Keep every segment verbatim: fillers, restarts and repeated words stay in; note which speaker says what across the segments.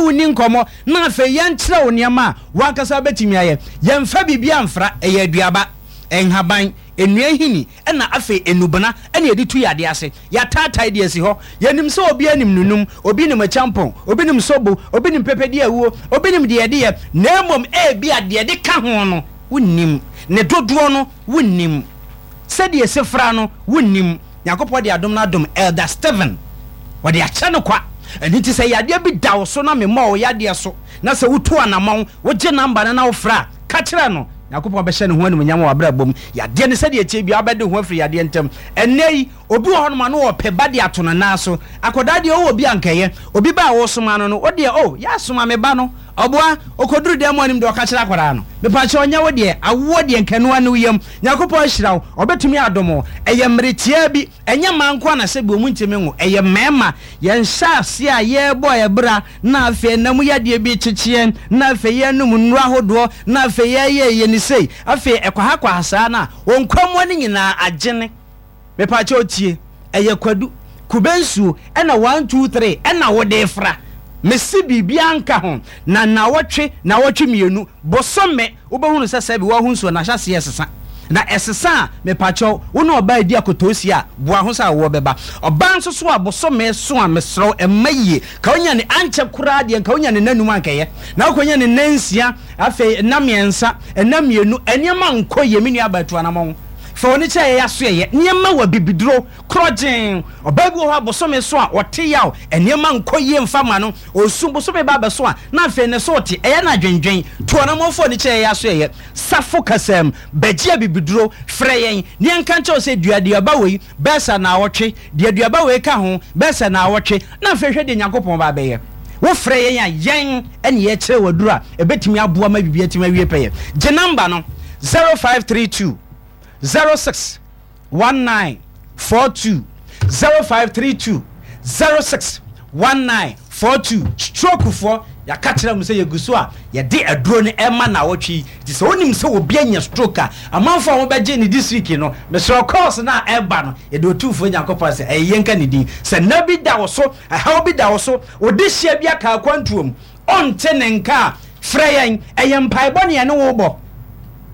Speaker 1: wo ni nkɔmmɔ na afei yɛnkyerɛ wo nneɛma a wankasa bɛtumi ayɛ. Yɛmfa biribi amfra. Ɛyɛ aduaba, nhaban, nnua hini, ɛna afei enubena ɛna yɛde tu yadeɛ ase. Yɛataatae deɛ asi hɔ. Yɛnim sɛ obi anim nunum, obi nim akyampɔn, obi nim sobo, obi nim pɛpɛdi awuo, obi nim deɛ yɛde yɛ, na mmom ebi a deɛ de ka ho no wonnim ne dodoɔ no, wonnim sɛdeɛ ɛsi fra no, wonnim. Nyankopɔn de adom no adom Elder Steven, wɔde akyɛ no kwa. Ɛno nti sɛ yadeɛ bi da wo so na memmɔ wo yadeɛ so na sɛ wotu anammɔn, wogye number no na wofrɛ a, ka kyerɛ no, Nyankopɔn bɛhyɛ ne ho animuonyam wɔ abrabɔ mu. Yadeɛ no, sɛdeɛ tie bia, wobɛde ho afiri yadeɛ ntam. Ɛnnɛ yi obi wɔ hɔnom a no wɔpɛ ba de ato no nan so. Akwadaa deɛ, wowɔ bi ankɛyɛ obi ba a wɔsoma no no wodeɛ o yɛasoma me ba no, ɔboa ɔkɔduru dan mu anim deɛ, ɔka kyerɛ akwadaa no, mepakyɛ, ɔnyɛ wo deɛ awoɔ deɛ nkanoa ne wo yam. Nyankopɔn ahyira wo, ɔbɛtumi adom wo. Ɛyɛ mmere tiaa bi. Ɛnyɛ mmaa nko a na sɛ bi ɔmu ntumi nwo, ɛyɛ mmarima. Yɛnhyɛ ase a yɛrebɔ ɛbra na afei nam yadeɛ bi kyekyeɛ, na afei yɛnom nnuro ahodoɔ, na afei yɛyɛ yɛ ne sei, afei ɛkwaha saa no a wɔn nkwamoa no nyinaa agyene. Mepakyɛ, otie, ɛyɛ kwadu, kube nsuo ɛna one, two, three ɛna wɔde fra. Mesi biribiara nka ho na nawɔtwe, nawɔtwe mmienu, bosome, wobɛhunu sɛ sɛbi wɔho nsuo na ahyɛ sesa na ɛsesa a. Mepakyɛw, wo ne ɔbaa di akotoosi a, boa ho sɛ awoɔ bɛba. Ɔbaa nso so a bosome so a, mesrɛw, ɛmma yie ka wonya ne ankyɛ koraa deɛ, nka wonya ne nanum ankɛyɛ na wokɔnya ne nansia, afei nna mmiɛnsa, ɛna mmienu, ɛnneɛma nkɔ yie. Me nua abatu anammɔn fa wɔne kyɛ yɛyɛ aso yɛyɛ nneɛma wɔ bibiduro korɔgyen. Ɔbaa bi wɔ hɔ a bosome so a ɔte yaw, nneɛma nkɔ yie mfa ma no. Osu bosome ba abɛso a, na afei ne so te ɛyɛ no adwendwen. To anammɔfoɔ ne kyɛ yɛyɛ aso yɛyɛ safo kasam bɛgye abibiduro. Frɛ yɛn ne yɛnka nkyɛw sɛ duaduaba wei bɛɛsa na awɔtwe deɛ, aduaba wei ka ho bɛɛsa na awɔtwe, na afei hwɛ deɛ Nyankopɔn ba bɛyɛ. Wofrɛ yɛn a, yɛn ɛne yɛkyerɛ waduro a ɛbɛtumi aboa ma biribi atumi awie pɛyɛ. Gye number no, zero five three two zero six one nine four two, zero five three two zero six one nine four two. Stroke foɔ, yɛaka kyerɛ mu sɛ yɛgu so a yɛde aduro no ɛma na awɔtwe yi. Nti sɛ wonim sɛ obi anya stroke a, amanfoɔ a wɔbɛgye ne this week no, mesrɛ, calls no a ɛba no, yɛde Otumfoɔ Nyankopɔn sɛ ɛyɛ yɛnka ne din sɛ nna bi da wo so, ɛhaw bi da wo so, wode hyia bi aka akwantuom, ɔnte ne nka a, frɛ yɛn. Ɛyɛ mpaebɔ ne yɛne wo bɔ,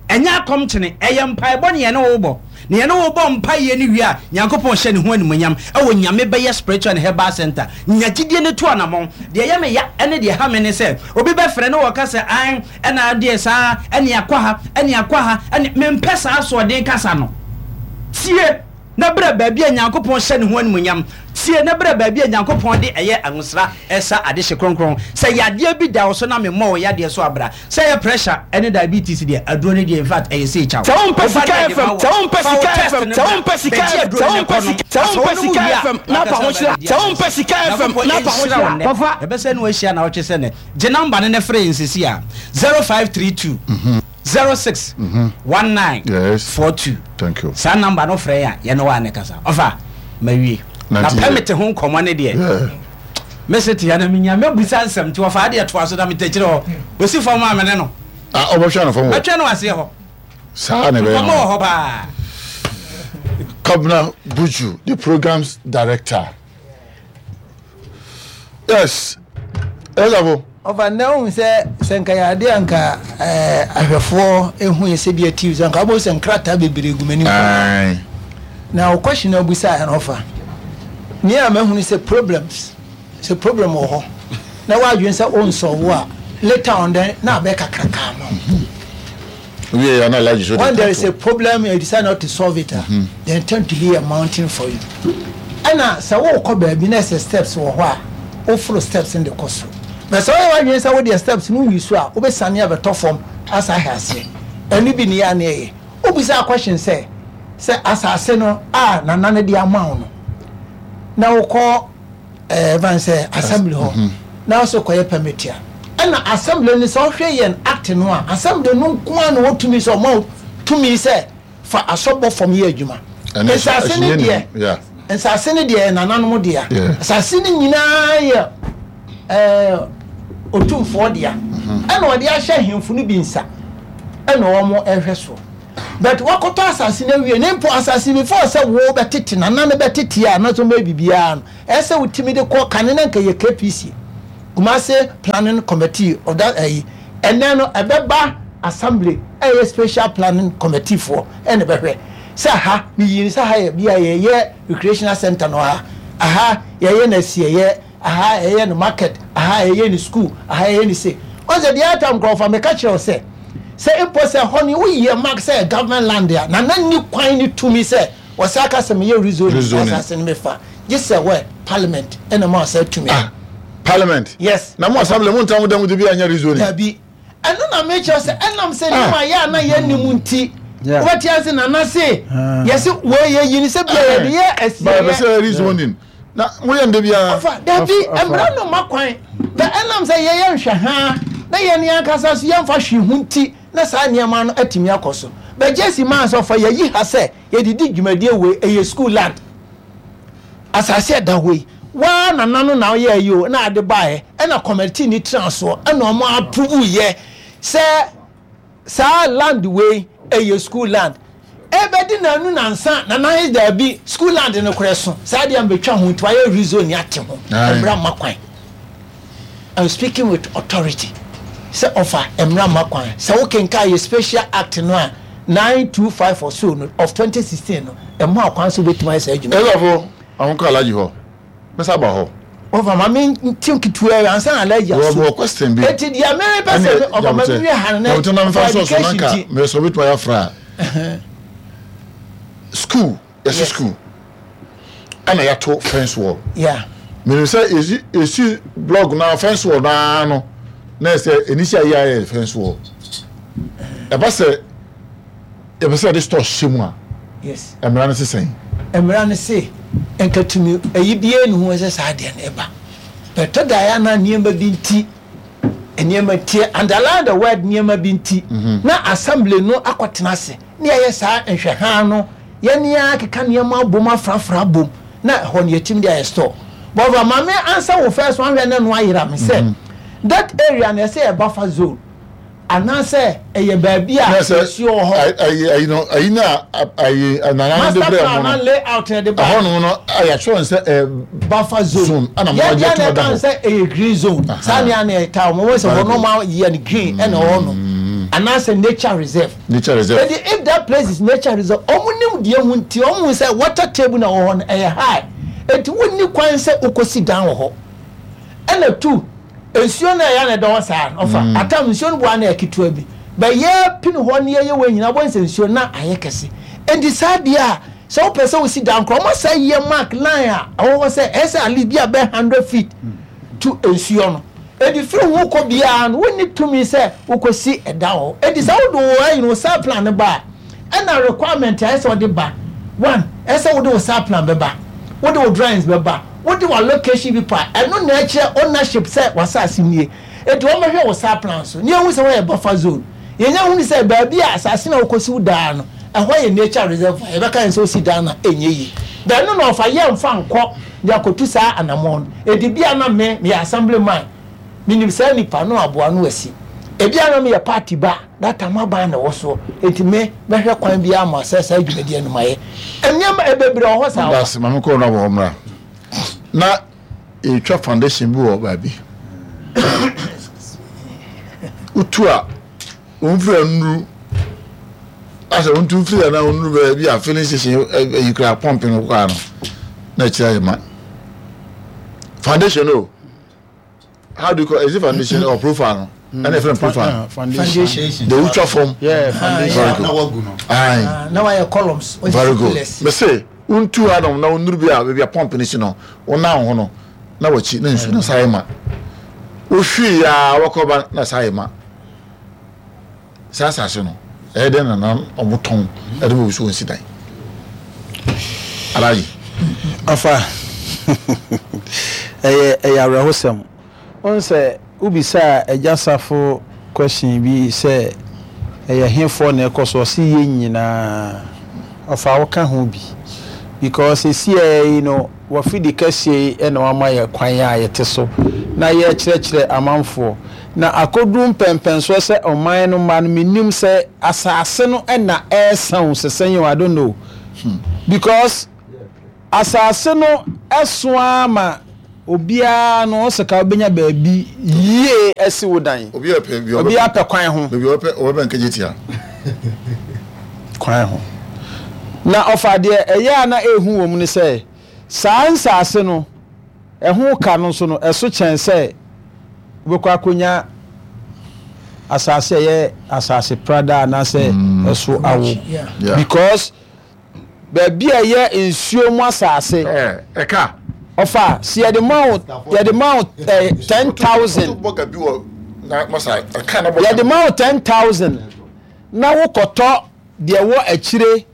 Speaker 1: ɛnyɛ akɔmkyene. Ɛyɛ mpaebɔ ne yɛne wo bɔ, na yɛne wo bɔ mpaeɛ no wie a, Nyankopɔn hyɛ ne ho animonyam ɛwɔ Nyame Bɛyɛ Spiritual and Herbal Center. Nya gyidie no to anammɔn. Deɛ ɛyɛ me ya ɛne deɛ ha me ne sɛ obi bɛfrɛ ne wɔka sɛ an ɛna deɛ saa ɛne akɔ ha, ɛne akɔ ha, ɛne mempɛ saa asoɔden kasa no. Tie na berɛ baabi a Nyankopɔn hyɛ ne ho animonyam. Tie na berɛ baabi a Nyankopɔn de ɛyɛ ahosra ɛsa adehye kronkron. Sɛ yadeɛ bi da wo so na memmɔ wo yadeɛ so abra, sɛ ɛyɛ pressure ɛne diabetes deɛ, aduro no deɛ, in fact, ɛyɛ sɛ ɛkyaw.
Speaker 2: Sɛ wompɛ Sika F M, sɛ wompɛ Sika F M, sɛ wompɛ Sika F M, sɛ wompɛ Sika, sɛ wompɛ Sika F M na apa ho hyira, sɛ wompɛ Sika F M na apa ho hyira.
Speaker 1: Kɔfa ɛbɛsɛ ne wahyia na wotwe sɛ nɛ gye number no ne frɛ nsesi a, zero five three two zero six one nine
Speaker 3: Yes.
Speaker 1: four two.
Speaker 3: Thank you.
Speaker 1: Saa number no, frɛ yɛ a, yɛne wa ne kasa. Ɔfa mawie na
Speaker 3: Nante yie.
Speaker 1: Permit ho nkɔmmɔ ne deɛ,
Speaker 3: Yeah.
Speaker 1: mese te ya na menya mɛbusa nsɛm nti wɔfa adeɛ toa so na metakyerɛ hɔ ɔsi fam a mene no.
Speaker 3: Ah, ɔbɛhwɛ no fam wɔ.
Speaker 1: Mɛtwɛ no aseɛ hɔ.
Speaker 3: Saa na ɛbɛyɛ
Speaker 1: nkɔmmɔ wɔ
Speaker 3: no.
Speaker 1: hɔ paa.
Speaker 3: Kabna Buju, the program's director. Yes. Yes,
Speaker 4: Ɔfa nnɛ wohu sɛ sɛ nka yɛ adeɛ a nka ɛɛ, ahwɛfoɔ ɛhu yɛ sɛ bi atiw sɛ nka wobɛhu sɛ nkrataa bebree gu m'anim paa.
Speaker 3: Aye.
Speaker 4: Na wo question a wobisaeɛ no, ɔfa nea a mahunu sɛ problems, sɛ problem wɔ hɔ na woadwene sɛ wonsɔwo a, later on then na abɛ kakrakaa ma wo.
Speaker 3: We are not allowed to
Speaker 4: When there is a problem and you decide not to solve it a, then tend to be a mountain for you. Ɛna sɛ wokɔ baabi na ɛsɛ steps wɔ hɔ a, woforo steps no de kɔ soro, na sɛ woyɛ w'adwene sɛ wodeɛ steps no woyi so a, wobɛsane abɛtɔ fam asa ahɛ aseɛ. Ɛno bi ne yɛ a ne ɛyɛ wobisa question sɛ sɛ asase no a nana no de ama wo no na wokɔ ɛɛ van sɛ assembly hɔ na wosɛ kɔyɛ permit a, ɛna assembly no, sɛ ɔhwɛ yɛn act no a, assembly no nko ara na wɔtumi sɛ ɔma wo tumi sɛ fa asɔbɔ fam yɛ adwuma.
Speaker 3: Ɛne
Speaker 4: Nsase no
Speaker 3: ɛhyɛ
Speaker 4: deɛ,
Speaker 3: Yeah.
Speaker 4: nsase no deɛ yɛ nananom dea.
Speaker 3: Yeah.
Speaker 4: Asase no nyinaa yɛ ɛɛ Otumfoɔ dea, ɛna ɔde ahyɛ ahemfo no bi nsa ɛna wɔn ɛhwɛ so. But wakɔtɔ asase no awie ne mpo asase before sɛ wo bɛtete, nana no bɛtete a, anaasɛ wɔbɛyɛ biribiara no, ɛsɛ wotumi de kɔ kane na nka yɛ K P C. Kumasi Planning Committee of that ɛyi, ɛnɛ no ɛbɛba assembly, ɛyɛ special planning committee foɔ ɛna bɛhwɛ sɛ ha miyi sɛ ha yɛ bi a yɛyɛ recreational center no, ha aha yɛyɛ no asieyɛ, aha yɛyɛ no market, aha yɛyɛ no school, aha yɛyɛ no se ɔsɛ deɛ ata nkurɔfoɔ. Meka kyerɛ wo sɛ sɛ mpo sɛ hɔ no woyɛ mark sɛ government land a, nana ni kwan ne tumi sɛ wɔsɛ aka sɛ meyɛ rezoning.
Speaker 3: Rezoning.
Speaker 4: Asase no mefa gye sɛ wɛ parliament ɛna ma ɔsɛ tumi.
Speaker 3: Ah, parliament?
Speaker 4: Yes.
Speaker 3: Na mo assembly mo ntam dɛm de bi anyɛ rezoning?
Speaker 4: Dabi, ɛno na mekyerɛ sɛ ɛnam sɛ
Speaker 3: Ah.
Speaker 4: nneɛma yɛ a na yɛnnim nti,
Speaker 5: Yeah.
Speaker 4: wobɛte ase nana se
Speaker 5: Ah.
Speaker 4: yɛse wɔyɛ yi ni sɛ bia yɛde yɛ
Speaker 3: Ba yɛ
Speaker 4: asieɛ.
Speaker 3: sɛ rezoning na mo yɛ nde biara.
Speaker 4: Ɔfa dabi.
Speaker 5: Ɔfa- ɔfa.
Speaker 4: Mmara no ma kwan bɛ ɛnam sɛ yɛyɛ nhwɛ haa na yɛn ankasa so yɛmfa hwee ho nti na saa nneɛma no atumi akɔ so. Bɛgye si maa sɛ ɔfa yɛyi ha sɛ yɛdedi dwumadie wei, ɛyɛ school land, asase ɛda hɔ yi waa nana no na ɔyɛ yi o na ade baeɛ, ɛna committee ni tena soɔ ɛna ɔmo approve yɛ sɛ saa land wei ɛyɛ school land. Ɛbɛdi nanu nansa nana yi daabi, school land no korɛ so saa deɛ mbɛtwa ho nti wayɛ rezone ate ho.
Speaker 3: Aye.
Speaker 4: Mmara ma kwan. I'm speaking with authority sɛ ɔfa mmara ma kwan sɛ wokenka yɛ special act no a nine two five or so no of twenty sixteen no, ɛmo akwan so wobɛtumi ayɛ saa adwuma.
Speaker 3: Ɛsafo àwọn kɔ alaji hɔ mɛsa ba hɔ.
Speaker 4: Ɔfa ma me nti nketewa yi ansa na alaji
Speaker 3: wɔ
Speaker 4: aso.
Speaker 3: wɔ question bi.
Speaker 4: Eti deɛ mere pɛ sɛ ɔfa ma me wie ha no na
Speaker 3: na na nfa
Speaker 4: for
Speaker 3: so so
Speaker 4: education
Speaker 3: nanka
Speaker 4: ti
Speaker 3: mɛ sɔ bituma yɛ afra school yɛsi
Speaker 4: Yes.
Speaker 3: school ɛna yɛato fence wall.
Speaker 4: Yeah
Speaker 3: mìíràn sɛ esi esi block na fence wall naa no na ɛsɛ enisi ayi ayɛ fence wall, ɛba sɛ yɛpɛ sɛ yɛde store hyɛ mu a,
Speaker 4: yes
Speaker 3: mmara no sisan?
Speaker 4: Mmara no se nkatumi ɛyi bie ne ho sɛ saa deɛ no ɛba bɛtɔ da yɛ ana nneɛma bi nti, nneɛma tie, underline the word nneɛma bi nti, na assembly no akɔtena ase ne yɛyɛ saa nhwɛhan no, yɛne akeka nneɛma abom afrafra abom na ɛhɔ no yɛtumi de ayɛ store. Bɔfra maame ansa wo first one hwɛ ne no ayera me sɛ that area na ɛsɛ yɛ buffer zone anaasɛ ɛyɛ baabi a
Speaker 3: na sɛ
Speaker 4: nsuo wɔ hɔ.
Speaker 3: Ayi ayi no ayi na ayi nana no de
Speaker 4: Master
Speaker 3: brɛ
Speaker 4: plan
Speaker 3: mo
Speaker 4: na
Speaker 3: no
Speaker 4: layout na de ba.
Speaker 3: ɛhɔ nom no ayɛ atwerɛ sɛ ɛ
Speaker 4: Buffer zone.
Speaker 3: Zone, ɛna mo
Speaker 4: yɛn
Speaker 3: agye
Speaker 4: deɛ
Speaker 3: to
Speaker 4: na
Speaker 3: da
Speaker 4: ɛka
Speaker 3: hɔ.
Speaker 4: sɛ ɛyɛ green zone.
Speaker 3: Aha.
Speaker 4: Saa nea na ɛta wɔn wɔn sɛ
Speaker 3: Very
Speaker 4: wɔn
Speaker 3: good.
Speaker 4: ma yɛ no green ɛna ɛwɔ no anaasɛ nature reserve.
Speaker 3: Nature reserve.
Speaker 4: Edi if that place is nature reserve, ɔmo nim deɛ ho nti ɔmo hu sɛ water table na wɔ hɔ no ɛyɛ high, eti wonni kwan sɛ okosi dan wɔ hɔ. Ɛna two, nsuo no ɛyɛ na ɛda hɔ saa no, ɔfa atam nsuo no boa na ɛyɛ ketewa bi bɛyɛ pini hɔ ne yɛyɛ wɔ nyinaa bɔ nsɛ nsuo na ayɛ kɛse. Eti saa deɛ a sɛ wopɛ sɛ wosi dan korɔ, ɔmo sɛ yɛ mark line a ɛwɔ hɔ sɛ ɛsɛ at least bi a bɛ hundred feet to nsuo no. Edi firi ho kɔ biara no, wonni tumi sɛ wokɔsi ɛda hɔ. Edi sɛ wode wo ayi no wo site plan no ba a, ɛna requirement a ɛsɛ wɔde ba, one, ɛsɛ wode wo site plan bɛba, wode wo drawings bɛba, wode wo allocation bi pa, ɛno na ɛkyerɛ ownership sɛ wasase nie. Eti wɔn bɛhwɛ wo site plan so ne ehu sɛ wɔyɛ buffer zone. Yɛnyɛ hu sɛ baabi a asase na wokɔsi wo daa no ɛhɔ yɛ nature reserve a yɛbɛka yɛn sɛ osi dan na ɛnyɛ yie bɛn no na ɔfa yɛ nfa nkɔ de akɔtu saa anammɔn no. Edi bi a na me meyɛ assembly man, minim saa nipa no aboa no asi ebi a na meyɛ party ba data ma ban na ɛwɔ soɔ, eti me mɛhwɛ kwan bi ama sɛ saa dwumadie no ma yɛ nneɛma ebebree wɔ hɔ saa.
Speaker 3: Daase, maame kɔɔ no abɔ hɔ mmra na yɛtwa foundation bi wɔ baabi wotu a wɔmfiri anuru asɛ wontu mfiri ana wonuru baabi a filling station ayi kora pump no koraa no na akyerɛ ayɛ ma foundation o. How do you call it? Is it foundation or profile no? Ɛna ɛfrɛ no profile.
Speaker 5: Foundation.
Speaker 3: De wotwa fam.
Speaker 5: Yeah, foundation.
Speaker 3: Very good.
Speaker 6: Na wagu no.
Speaker 3: Aye.
Speaker 4: Ah, na wayɛ columns. Wɔsi
Speaker 3: Very good.
Speaker 4: pillars.
Speaker 3: Mese wontu hanom na wonuru bi a baabi a pump no si no, wonam ho no na wakyi na nsu no saa yɛ ma wohwii a wɔkɔba na saa yɛ ma saa asase no ɛyɛ dɛn na na ɔmo tɔn ɛde bɔ so wɔnsi dan alaji?
Speaker 5: Afa, ɛyɛ ɛyɛ awerɛhosɛm wọn sɛ wobisa Agya Safo question bi sɛ ɛyɛ hefoɔ na ɛkɔ so, ɔsi yɛ nyinaa ɔfa woka ho bi because esi yi no wɔfidi kɛseɛ yi ɛna wama yɛ kwan a yɛte so na yɛkyerɛkyerɛ amanfoɔ na akɔduru mpɛmpɛnsoɔ sɛ ɔman no ma no. Menim sɛ asase no ɛna ɛɛsan o sɛsɛn yi o, I don't know, because asase no ɛso ama Obiara no ɔsɛ ka wobɛnya baabi yie asi wo dan.
Speaker 3: Obiara pɛ bi
Speaker 5: Obiara pɛ kwan ho.
Speaker 3: Baabi ɔbɛpɛ ɔbɛbɛn Kejetia.
Speaker 5: Kwan ho. Na ɔfa deɛ ɛyɛ a na ɛhu wɔ mu ne sɛ, saa nsaase no, ɛho ka no nso no, ɛso kyɛn sɛ wobɛkɔ akɔnya asase a ɛyɛ asase prada anaasɛ ɛso awo.
Speaker 3: Yeah.
Speaker 5: Because baabi a ɛyɛ nsuo mu asase,
Speaker 3: Ɛka.
Speaker 5: Ɔfa si yɛde ma wo yɛde ma wo ɛɛ ten thousand.
Speaker 3: Bɔga bi wɔ na masa ɛka na bɔga.
Speaker 5: Yɛde ma wo ten thousand na wokɔtɔ deɛ wɔ akyire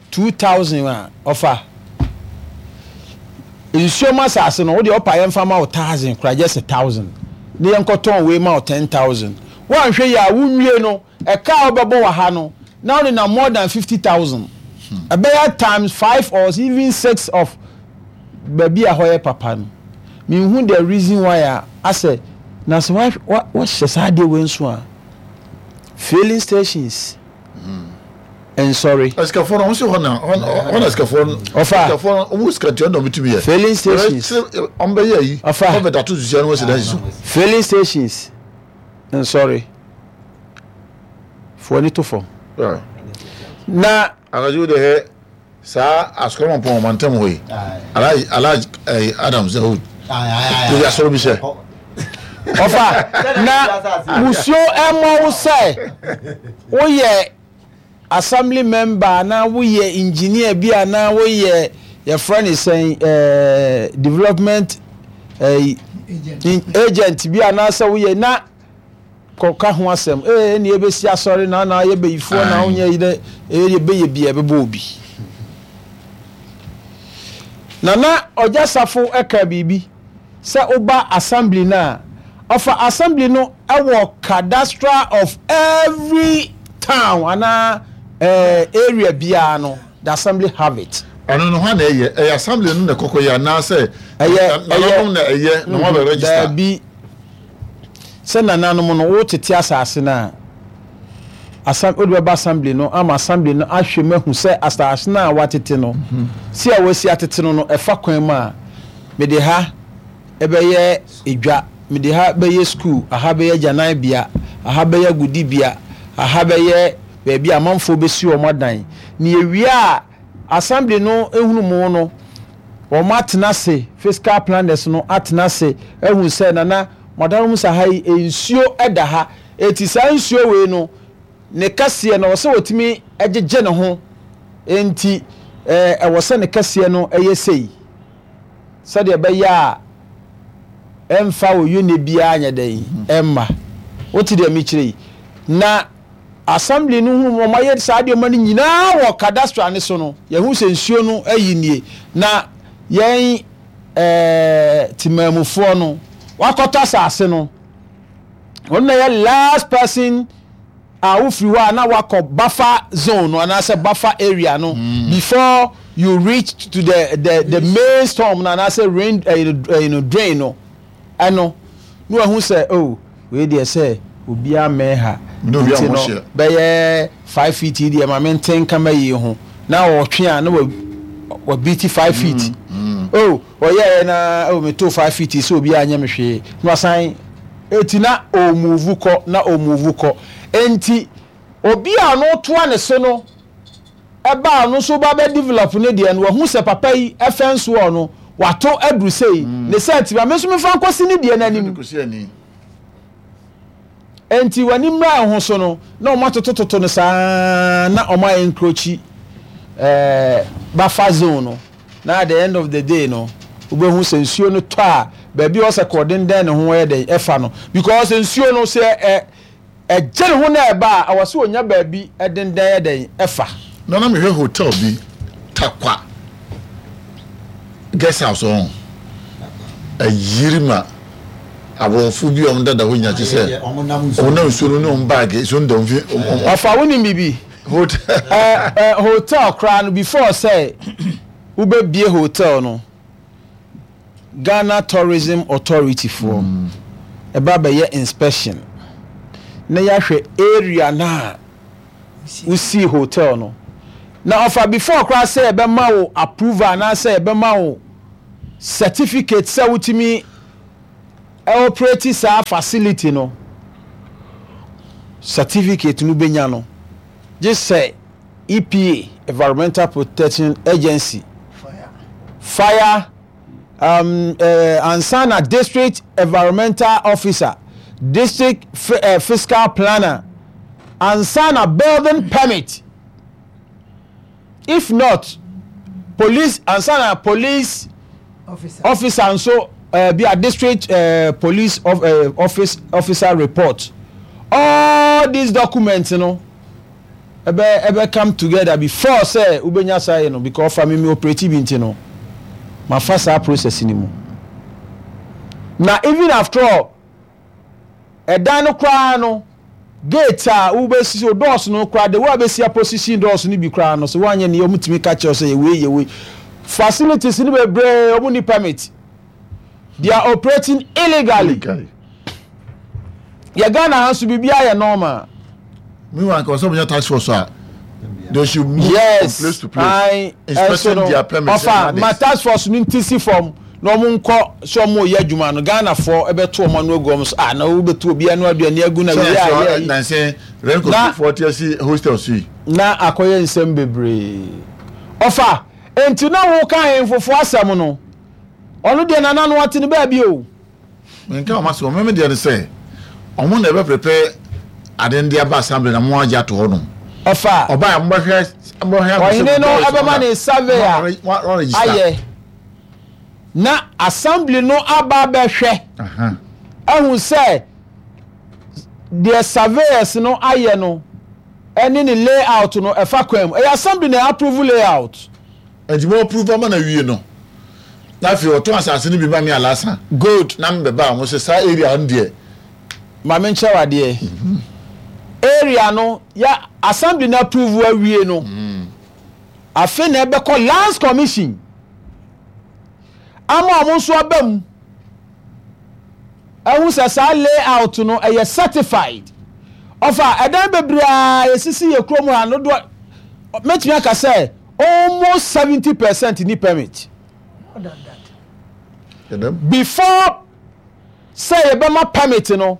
Speaker 5: two thousand a, ɔfa nsuo mu asase no, wodeɛ ɔpa yɛmfa ma wo thousand kora, just a thousand ne yɛnkɔtɔn wei ma wo ten thousand. Woanhwɛ yi a, wonwie no, ɛka a wobɛbɔ wɔ ha no na wode na more than fifty thousand, ɛbɛyɛ times five or even six of baabi a hɔ yɛ papa no. Menhu the reason why a asɛ na sɛ wa- wa- wahyɛ saa adeɛ wei nso a, filling stations nsɔre.
Speaker 3: Asikafoɔ no, wɔn si hɔ na hɔ na asikafoɔ no.
Speaker 5: Ɔfa.
Speaker 3: Asikafoɔ no, wɔn sika ntua na wɔn tumi yɛ.
Speaker 5: Filling stations.
Speaker 3: Wɔn bɛyɛ yi.
Speaker 5: Ɔfa.
Speaker 3: Wɔn bɛ dato susia no, wɔn si dan si so.
Speaker 5: Filling stations nsɔre foɔ ani to fam na
Speaker 3: Anadwo de hɛ saa asukɔrɔmɔ pɔn ɔman ntɛm hɔ yi, Alhaji Alhaji ɛyi Adams Dawood ebi asɔrɔ bi hyɛ.
Speaker 5: Ɔfa na musuo ɛmɔ wo sɛ woyɛ assembly member anaa woyɛ engineer bi anaa woyɛ, yɛfrɛ ne sɛn, ɛɛ development ɛɛ agent bi anaasɛ woyɛ na kɔka ho asɛm ee ɛna ebesi asɔre na na ayɛ bɛyifoɔ na wonyɛ yi dɛ ee yɛbɛyɛ bi a ɛbɛbɔ obi. Nana Ɔgya Safo ɛka biribi sɛ woba assembly no a, ɔfa assembly no ɛwɔ cadastral of every town anaa ɛɛ area biara no, the assembly have it.
Speaker 3: Ɛno no, hɔ na ɛyɛ ɛyɛ assembly no na ɛkɔkɔ yɛ anaasɛ
Speaker 5: ɛyɛ
Speaker 3: nananom na ɛyɛ na wɔn abɛ register?
Speaker 5: Daabi, sɛ nananom no wotete asase no a, asam wode bɛba assembly no ama assembly no ahwɛ mu ahu sɛ asase no a watete no si a wasi atete no no ɛfa kwan mu a mede ha ɛbɛyɛ edwa, mede ha bɛyɛ school, aha bɛyɛ agyananbea, aha bɛyɛ agodibea, aha bɛyɛ baabi a amanfoɔ bɛsi wɔn adan. Ne yɛwie a, assembly no ehunu mu no, wɔn atena ase, physical planners no atena ase ehu sɛ, nana mɔdanom sɛ ha yi nsuo ɛda ha, eti saa nsuo wei no ne kɛseɛ no, ɔsɛ wɔtumi gyegye ne ho, nti ɛɛ ɛwɔ sɛ ne kɛseɛ no ɛyɛ sei sɛdeɛ ɛbɛyɛ a ɛmfa oyone biara nyɛ dɛn ɛmma wote deɛ mekyerɛ yi. Na assembly no hu wɔn ayɛ saa nneɛma no nyinaa wɔ cadastral ne so no, yɛhu sɛ nsuo no ayi nie na yɛn ɛɛ temamufoɔ no wakɔtɔ asase no, wɔn na yɛ last person a wofiri hɔ a na wakɔ buffer zone no anaasɛ buffer area no mm. before you reach to the the the main storm no anaasɛ rain ɛɛ ɛɛ drain no. Ɛno na wahu sɛ, oh, wei deɛ sɛ obiara mmɛn ha nti no, bɛyɛ five feet yi deɛ, ma mente nkama yi ho na ɔtwe a na wabiti five feet mm, mm. Oh, ɔyɛɛ na, oh, meto five feet yi sɛ obiara nyɛ me hwee na wasan eti na ɔmove kɔ na ɔmove kɔ. Enti obi a ɔno toa ne so no ɛba a, ɔno nso ba bɛ develop ne deɛ no, wahu sɛ papa yi ɛfɛn soɔ no wato aduru sei mm. ne sɛ nti ma me nso mefa nkɔsi ne deɛ n'anim. Nti w'ani mmra ho so no na wɔn atotototo no saa na wɔn ayɛ encroach ɛɛ buffer zone no, na at the end of the day no, wobɛhu sɛ nsuo no tɔ a, baabi a ɔsɛ kɔɔdendɛn ne ho yɛ dɛn ɛfa no, because nsuo no sɛ ɛ ɛgye ne ho na ɛba a, ɛwɔ sɛ onya baabi ɛdendɛn yɛ dɛn ɛfa.
Speaker 3: Na na mehwɛ hotel bi, Takwa Guest House, ɔn ayiri ma aborɔfo bi a wɔn dada hɔ nyina kye sɛ wɔn nam nsuo no ne wɔn baage, nsuo no da wɔn fi.
Speaker 5: Ɔfa, wonim bibi?
Speaker 3: Hotel.
Speaker 5: ɛ ɛ hotel koraa no, before sɛ wobɛbie hotel no, Ghana Tourism Authority foɔ ɛba bɛyɛ inspection na yɛahwɛ area no a wosii hotel no. Na ɔfa, before koraa sɛ yɛbɛma wo approval anaasɛ yɛbɛma wo Certificate sɛ wotumi operate saa facility no, certificate no bɛnya no gye sɛ E P A, Environmental Protection Agency, fire um, uh, ansa na district environmental officer, district uh, physical planner, ansa na building permit. If not, police, ansa na police
Speaker 4: officer,
Speaker 5: officer nso uh, bi a district uh, police of, uh, office officer report. All these documents no ɛbɛ ɛbɛ come together before sɛ wobɛnya saa yɛ no, because fa mi mi operate bi nti no, ma fa saa process ni mu. Na even after all, ɛdan no koraa no, gate a wobɛsi so, doors no koraa, de wo a bɛsi aposition doors no bi koraa no so, woanyɛ ne ɔmo tumi ka kyerɛ sɛ yɛwei yɛwei. Facilities no bebree, ɔmo ni permit, they are operating illegally.
Speaker 3: Illegally.
Speaker 5: Yɛ Ghana ha nso, biribi ayɛ normal.
Speaker 3: Meanwhile, nka ɔsɛ ɔmo task force a, they should move
Speaker 5: yes
Speaker 3: from place to place
Speaker 5: ayi
Speaker 3: inspecting their permits
Speaker 5: ɔfa
Speaker 3: and
Speaker 5: ma
Speaker 3: others.
Speaker 5: Task force no nti si fam na ɔmo nkɔ sɛ ɔmo yɛ adwuma no, Ghanafoɔ ɛbɛto ɔmo ano agu ɔmo so, ah, na wobɛto obi ano aduane agu na wei a yɛ yi.
Speaker 3: Nansɛn rent
Speaker 5: Na-
Speaker 3: kɔ forty asi hostels yi.
Speaker 5: Na akɔyɛ nsɛm bebree. Ɔfa nti na woka ahemfofo asɛm no, ɔno deɛ nana no ɔte ne baabi o.
Speaker 3: Nka ɔmo asɛ ɔmo deɛ no sɛ ɔmo na ɛbɛ prepare ade no de aba assembly na mo agye ato hɔ nom.
Speaker 5: Ɔfa
Speaker 3: ɔbaa mo bɛhwɛ mo bɛhwɛ.
Speaker 5: Ɔhene no ɛbɛma ne survey a ayɛ na assembly no aba abɛhwɛ ɛhu sɛ deɛ surveyors no ayɛ no ɛne ne layout no ɛfa kwan mu. Ɛyɛ assembly na approve layout.
Speaker 3: Nti mo approve ama na wie no, na afei ɔtɔn asase no bi ma mi alasa.
Speaker 5: Good.
Speaker 3: Na mbɛba a mo sɛ saa area no deɛ.
Speaker 5: Maame, nkyɛn wadeɛ area no ya, assembly na approve awie no, afei na ɛbɛkɔ Lands Commission ama ɔmo nso aba mu ɛhu sɛ saa layout no ɛyɛ certified. Ɔfa ɛdan bebree a esisi yɛ kurom ha no dodoɔ, mɛtumi aka sɛ almost seventy percent ni permit.
Speaker 4: More than that.
Speaker 5: Before sɛ yɛbɛma permit no,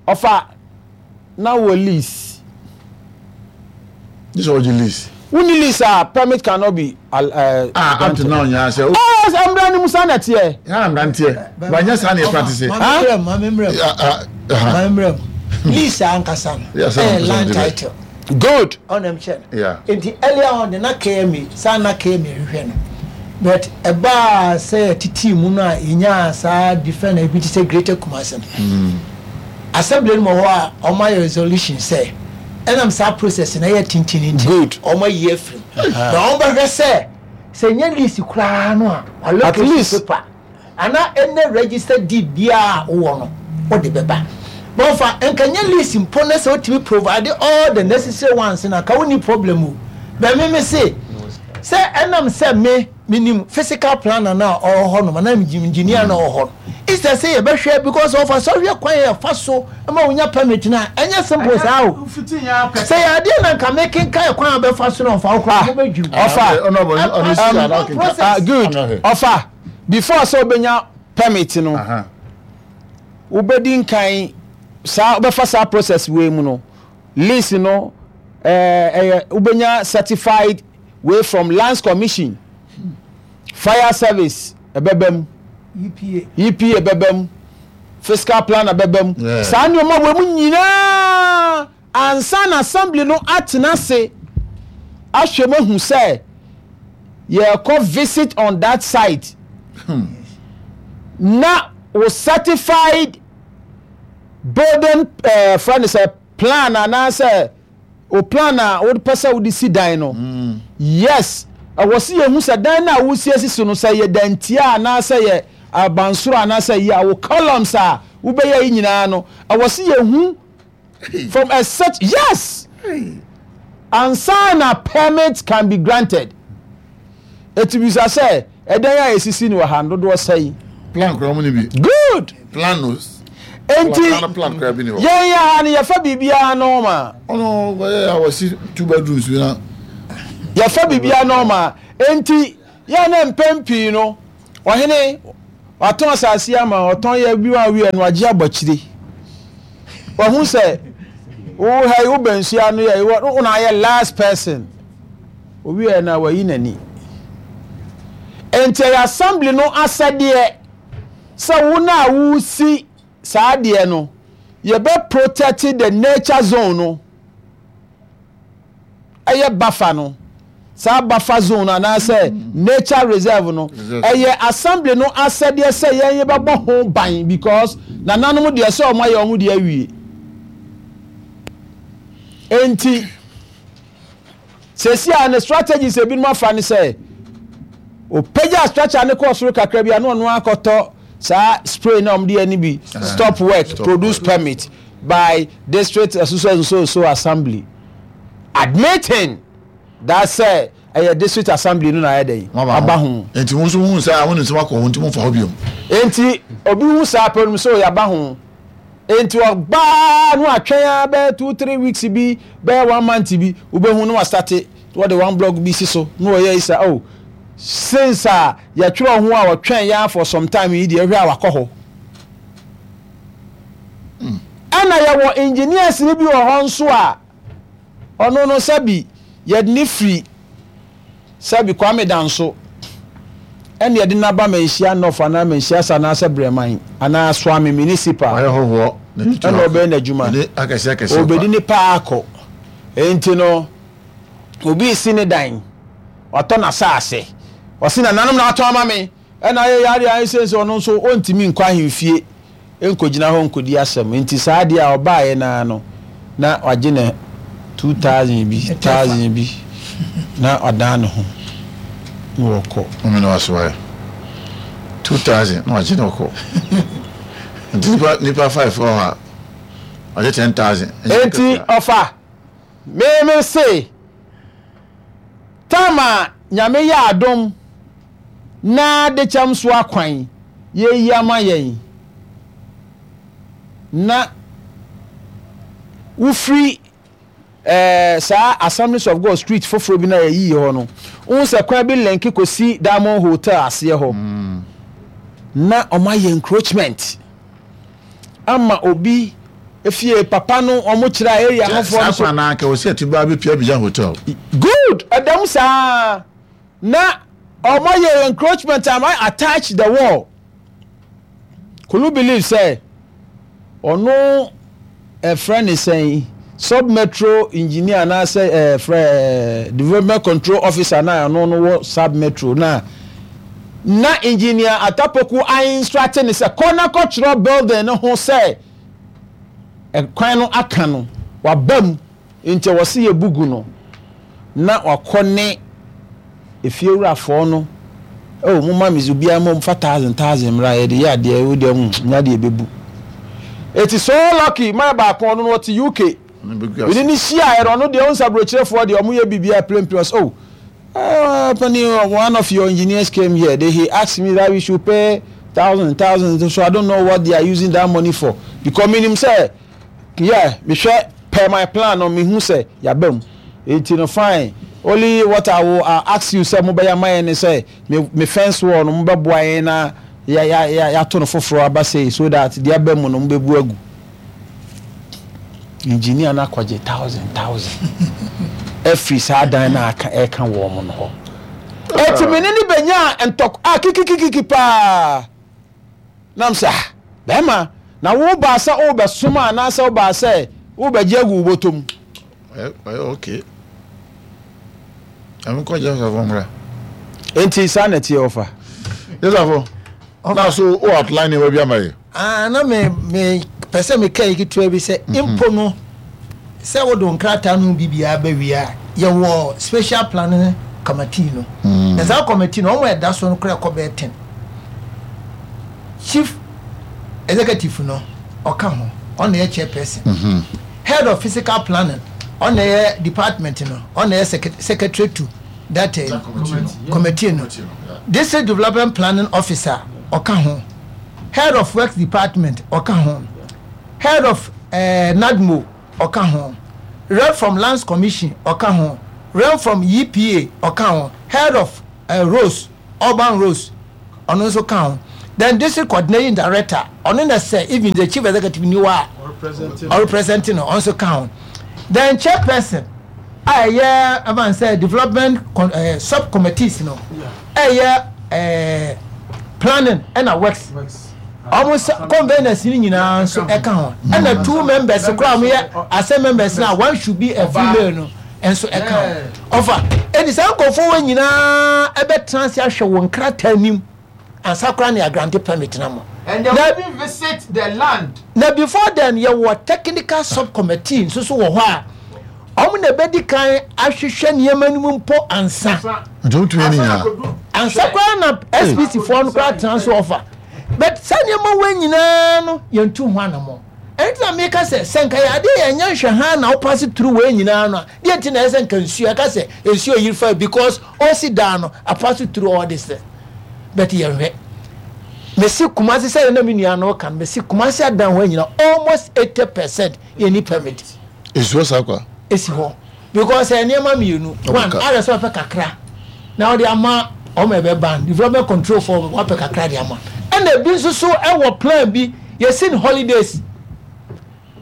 Speaker 5: ɔfa na wɔ lease.
Speaker 3: This is ɔgye lease.
Speaker 5: Wonni lease a, permit cannot be uh,
Speaker 3: ah, up to now nyaa sɛ.
Speaker 5: Oh, mbra ni musa na teɛ.
Speaker 3: Yàrá mmeranteɛ banyɛ saa na yɛ practice.
Speaker 4: Maame mmerɛ mu, maame mmerɛ mu, maame mmerɛ mu, lease ankasa no
Speaker 3: Yes,
Speaker 4: ɛyɛ land
Speaker 3: ankasa no.
Speaker 4: title.
Speaker 5: Good.
Speaker 4: Ɔnam kyɛ no.
Speaker 3: Yeah.
Speaker 4: Nti earlier on de na K M A saa na K M A hwehwɛ no, but ɛbaa sɛ titi mu no a yɛnyaa saa different ebi te sɛ Greater Kumasi no assembly no mu hɔ a, ɔmo ayɛ resolution sɛ ɛnam saa process na ɛyɛ tenten nti
Speaker 5: Good.
Speaker 4: ɔmo ayi afiri mu na ɔmo bɛhwɛ sɛ sɛ nyɛ lease koraa no a,
Speaker 5: At
Speaker 4: allocation
Speaker 5: least.
Speaker 4: paper ana ɛnɛ register deed biara a wowɔ no, wode bɛba. Bɔnfa nka nyɛ lease mpo ne sɛ wotumi provide all the necessary ones na ka wonni problem o. Bɛn me se sɛ ɛnam sɛ me menim physical planner na ɔwɔ hɔ nom anaa engineer na ɔwɔ hɔ no, instead sɛ yɛbɛhwɛ, because ɔfa sɛ ɔhwɛ kwan yɛ fa so ma wonya permit na ɛnyɛ simple saa o. Sɛ yɛ adeɛ na nka mekenka kwan a bɛfa so na ɔfa wo koraa mobɛdwiri.
Speaker 5: Ɔfa
Speaker 4: process.
Speaker 5: Ah, good. Ɔfa before sɛ wobɛnya permit no, wobɛdi nkan saa, wobɛfa saa process wei mu no, lease no, ɛɛ ɛyɛ wobɛnya certified way from Lands Commission, fire service ɛbɛbɛ mu.
Speaker 4: E P A.
Speaker 5: E P A bɛbɛ mu, physical planner bɛbɛ mu.
Speaker 3: Yeah.
Speaker 5: Saa nneɛma wɔ mu nyinaa ansa na assembly no atena ase ahwɛ mu ahu sɛ yɛrekɔ visit on that site na wo certified building ɛɛ friend sɛ plan anaasɛ o plan a wopɛ sɛ wode si dan no. Yes, ɛwɔ si yɛhu sɛ dan no a wosi asi so no, sɛ yɛ dantia anaasɛ yɛ abansoro anaasɛ yɛ a wo columns a wobɛyɛ yi nyinaa no, ɛwɔ si yɛhu from a set, yes, ansa na permit can be granted. Etu bisa sɛ ɛdan a esisi no wɔ ha no, dodoɔ sɛyi?
Speaker 3: Plan kura mu ni bi.
Speaker 5: Good.
Speaker 3: Plan no.
Speaker 5: Enti
Speaker 3: plan plan kura bi ni hɔ.
Speaker 5: Yɛn yɛ ha no, yɛfa biribiara normal.
Speaker 3: Ɔno wɔyɛ a wɔsi two bedrooms bi na.
Speaker 5: Yɛfa biribiara normal, enti Yɛ na mpɛn pii no, ɔhene watɔn asase ama, ɔtɔn yɛ bi wa wie no, wagye abɔ akyire. Wahu sɛ wo ha yi, wobɛn nsuo ano yɛ, wo na ayɛ last person. Owie na wayi n'ani. Enti ɛyɛ assembly no asɛdeɛ sɛ wo na wosi saa adeɛ no, yɛbɛ protect the nature zone no. Ɛyɛ buffer no, saa buffer zone no anaasɛ nature reserve no, ɛyɛ assembly no asɛdeɛ sɛ yɛn yɛbɛbɔ ho ban, because nananom deɛ, sɛ wɔn ayɛ wɔn deɛ awie. Enti sɛsi a ne strategies ebinom afa ne sɛ opagya structure ne kɔɔ soro kakra bi a, na ɔno akɔtɔ saa spray na wɔde yɛ ne bi, "Stop work,
Speaker 3: stop
Speaker 5: produce
Speaker 3: work.
Speaker 5: Permit by district so so so assembly," admitting that sɛ ɛyɛ district assembly no na ayɛ dɛ aba ho.
Speaker 3: Nti mo nso hu sɛ a mo nim sɛ wakɔ ho, nti mo nfa hɔ biom.
Speaker 5: Nti obi hu saa pɛ no sɛ ɔyɛ aba ho, nti ɔbaa no atwɛn a bɛyɛ two three weeks bi, bɛyɛ one month bi, wobɛhu no wasate wɔde one block bi si so na wɔyɛ isa. Oh, since a yɛtwerɛ ho a wɔtwɛn yɛn for some time yi deɛ, ɛhwɛ a wakɔ hɔ. Ɛna yɛwɔ engineers ni bi wɔ hɔ nso a ɔno no, sɛbi, yɛde ne firi, sɛbi, Kwame Danso, ɛna yɛde n'aba Manhyia North anaa Manhyia sa anaasɛ Brɛman anaa Suame Municipal.
Speaker 3: Wayɛ hɔhoɔ.
Speaker 5: Ɛna ɔbɛyɛ n'adwuma.
Speaker 3: Ɛne akɛseɛ akɛseɛ.
Speaker 5: Obedi ne paa akɔ. Nti no obi si ne dan, watɔ n'asaase, ɔsi nananom na atɔn ama me, ɛna ayɛ yare ayɛ sɛ sɛ ɔno nso ɔntumi nkɔ ahemfie nkɔgyina hɔ nkɔdi asɛm. Nti saa adeɛ a ɔbaeɛ naa no, na wagye ne two thousand bi, thousand bi, na ɔdan ne ho na wɔkɔ.
Speaker 3: Ɔmo na waso ayɛ two thousand na wagye ne ɔkɔ. Nti nipa nipa five wɔ hɔ a, wagye ten thousand.
Speaker 5: Enti ɔfa mímí se tam a Nyame yɛ adom na de kyɛm so akwan yɛyi ama yɛn na wofiri ɛɛ saa Assemblies of God street foforɔ bi na yɛyiyi hɔ no, wohu sɛ kwan bi link kɔsi Diamond Hotel aseɛ hɔ, na ɔmo ayɛ encroachment ama obi efie papa no, ɔmo kyerɛ area hɔfoɔ
Speaker 3: saa
Speaker 5: no so.
Speaker 3: Kwan na anka wɔsi ɛti ba bi pia Abidjan Hotel.
Speaker 5: Good, ɛdɛm saa na ɔmo yɛ encroachment ama attach the wall. Kulu believe sɛ ɔno ɛfrɛ ne sɛn, sub metro engineer anaasɛ ɛfrɛ ɛɛ development control officer, na ɔno no wɔ sub metro, na na Engineer Atapoku instruct ne sɛ kɔ na kɔtwerɛ building no ho sɛ ɛkwan no aka no waba mu, nti wɔsi yɛ bugu no, na wakɔ ne efiewurafoɔ no, oh, mo ma mi obiara mo fa thousand thousand mmra, yɛde yɛ adeɛ o deɛ mm nya deɛ ebebu. Eti so lucky maa baako, ɔno no ɔte U K.
Speaker 3: Ɔno bɛgu
Speaker 5: ɛni
Speaker 3: ase.
Speaker 5: Ne hyia yɛ no, ɔno deɛ ɔnsa aburokyerefoɔ deɛ, ɔmo yɛ biribi a plain plain. Ɔsɛ, oh, uh, Penny, one of your engineers came here. They, he asked me that we should pay thousand, thousand. So I don't know what they are using that money for. Because menim sɛ, yeah, mehwɛ per my plan no, mehu sɛ yaba mu. Enti no fine. Only what I will uh, ask you sɛ mobɛyɛ ama yɛn ne sɛ me me fence wall no, mobɛboa yɛn na ya ya ya yɛato no foforɔ aba sei so that deɛ aba mu no mobɛbu agu. Engineer no akɔgye thousand thousand ɛfiri saa dan no aka ɛka wɔn no hɔ. Eti me ne ne bɛnya ntɔk a kikikikiki paa nam sɛ, ah, bɛrima na wo baa sɛ wobɛsom a anaasɛ wobaa sɛ wobɛgye agu wo bɔtɔ mu?
Speaker 3: Ɔyɛ ɔyɛ okay. Ɛmi kɔ Joseph mmra.
Speaker 5: Enti saa na ɛteɛ, ɔfa.
Speaker 3: Joseph na so o outline nneɛma bi ama yɛ.
Speaker 4: Ah, na me me pɛ sɛ meka yi ketewa bi sɛ mpo no sɛ wode wo nkrataa no biribiara bɛwie a, yɛwɔ special planning committee no, na saa committee no, ɔmo a ɛda so no koraa ɛkɔ bɛyɛ ten. Chief executive no ɔka ho, ɔno yɛ chairperson. Head of physical planning, ɔno yɛ department no, ɔno yɛ secret- secretary to that uh, committee no. District development planning officer ɔka ho, head of works department ɔka ho, head of uh, N A D M O ɔka ho, rep from Lands Commission ɔka ho, rep from E P A ɔka ho, head of uh, roads. Urban Roads, ɔno nso ka ho. Then district coordinating director, ɔno na sɛ even the chief executive ni hɔ a ɔrepresent no, ɔno nso ka ho. Then chairperson a ɛyɛ ɛfan sɛ development con ɛɛ sub committees no, ɛyɛ ɛɛ planning ɛna works, ɔmo sɛ conveners ni nyinaa nso ɛka ho. Ɛna two members koraa ɔmo yɛ assembly members na one should be a female no nso ɛka ho. Ɔfa ɛni saa nkurɔfoɔ wɔ nyinaa ɛbɛtena ase ahwɛ wɔn nkrataa nim ansa koraa ne agrant permit na mo.
Speaker 6: And they will even visit the land.
Speaker 4: Na before then, yɛwɔ technical subcommittee nso so wɔ hɔ a ɔmo na ɛbɛdi kan ahwehwɛ nneɛma no mu mpo ansa.
Speaker 3: Nti wotumi ani nyinaa.
Speaker 4: Ansa koraa na S P C foɔ no koraa tena so ɔfa. But saa nneɛma wɔ nyinaa no, yɛntu ho anammɔ. Ɛno nti na meka sɛ sɛ nka yɛ adeɛ yɛnyɛ nhwɛ ha na wopass through wei nyinaa no a, deɛ nti na ɛyɛ sɛ nka nsuo ɛka sɛ nsuo yiri fa because ɔsi dan no apass through all this thing, but yɛnhwɛ. Mesi Kumase sɛ na me nua no ka no, mesi Kumase adan hɔ nyinaa, almost eighty percent yɛni permit.
Speaker 3: Nsuo saa kwa.
Speaker 4: Esi hɔ because ɛ nneɛma mmienu. One, ayɛ sɛ ɔpɛ kakra na ɔde ama ɔmo ɛbɛ ban development control for wapɛ kakra de ama. Ɛna ebi nso so ɛwɔ plan bi yɛsi no holidays.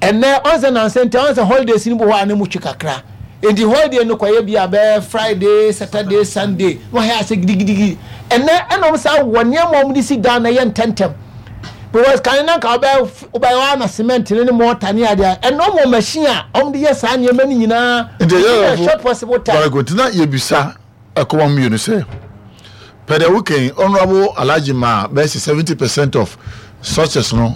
Speaker 4: Ɛnɛ ɔnsɛ nansa nti ɔnsɛ holidays ni bi hɔ a ne mu twe kakra, nti holiday no kɔyɛ bi a bɛyɛ Friday, Saturday, Sunday na wɔayɛ asɛ gidigidigi. Ɛnɛ ɛna ɔmo saa wɔ nneɛma a ɔmo de si dan na ɛyɛ ntɛntɛm because kan na nka ɔbɛ ɔbɛyɛ ɔana na cement ne ne mortar ne adeɛ. Ɛnɛ ɔmo wɔ machine a ɔmo de yɛ saa nneɛma no nyinaa
Speaker 3: nti
Speaker 4: within a
Speaker 3: ɛyɛ
Speaker 4: short possible time.
Speaker 3: Very good. Na yɛbisa ɛkɔma mmienu sɛ pɛdeɛ wokɛn Honorable Alhaji ma bɛyɛ sɛ seventy percent of structures no